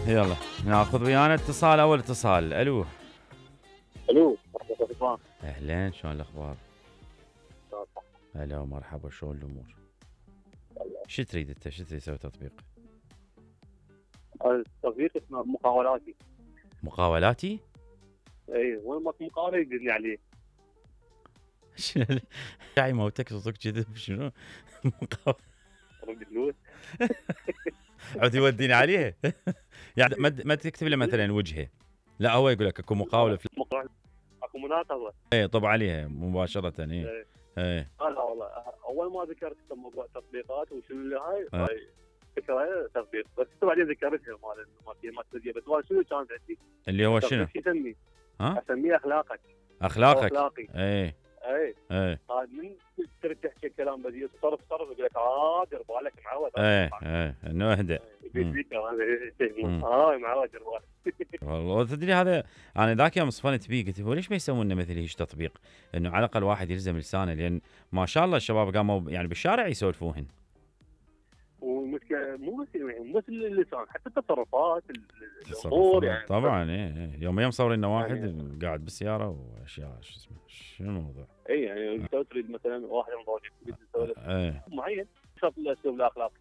يلا ناخذ ويانا اتصال، اول اتصال. الو الو، مرحبا رضوان. اهلين، شلون الاخبار؟ هلا ومرحبا، شلون الامور؟ شو تريد انت؟ شو تريد تسوي تطبيق؟ التطبيق اسمه مقاولاتي. مقاولاتي؟ اي، وين ماكو مقاوله يدلني عليه. شاي موتك صوتك كذب شنو؟ مقاولة رد فلوس. عاد يوديني عليه. يعني ما تكتب له مثلا وجهه، لا هو يقول لك اكو مقاوله اكو مناقضه. اي طب عليها مباشره. اي اي لا والله، اول ما ذكرت موضوع تطبيقات وشنو اللي هاي فكره تطبيق، بس بعدين ذكرتها مال بس شنو كانت عندي اللي هو شنو؟ شو اسميه؟ ها؟ اسميه اخلاقك. اخلاقي. اي اي اي هذا من تريد تحكي كلام بذيء صرف يقول لك دير بالك معود. اي انه اهدى. معود دير بالك. والله تدري هذا انا ذاك يوم صفنت بيه، قلت ليش ما يسوون لنا مثل هيك تطبيق، انه على الاقل واحد يلزم لسانه، لان ما شاء الله الشباب قاموا يعني بالشارع يسولفوهن. ومشكله مو بس اللسان، حتى التصرفات الامور يعني. طبعا يوم مصورين لنا واحد يعني قاعد بالسياره واشياء شو اسمه، شنو الموضوع؟ اي يعني انت تريد مثلا واحد من ضوجك تريد تسولف معين شرط الاسلوب الاخلاقي.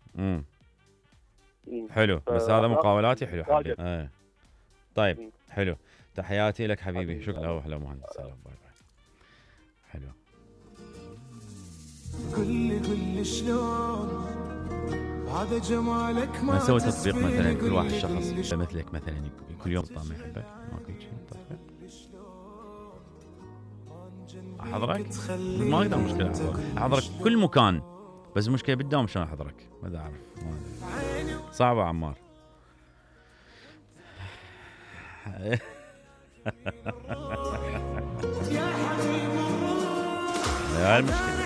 حلو، بس هذا مقاولاتي حلو حبيبي. طيب حلو، تحياتي لك حبيبي، شكرا. هلا مهندس، سلام، باي باي. حلو. كل شلون هذا جمالك ما نسوي تطبيق مثلا كل واحد شخص مثلك مثلا كل يوم طعم يحبك، ماكو شيء تطبيق احضرك، ما اقدر مشكله احضرك كل مكان، بس المشكله بالدوام شلون احضرك ما ادري اعرف، صعبه عمار. يا المشكله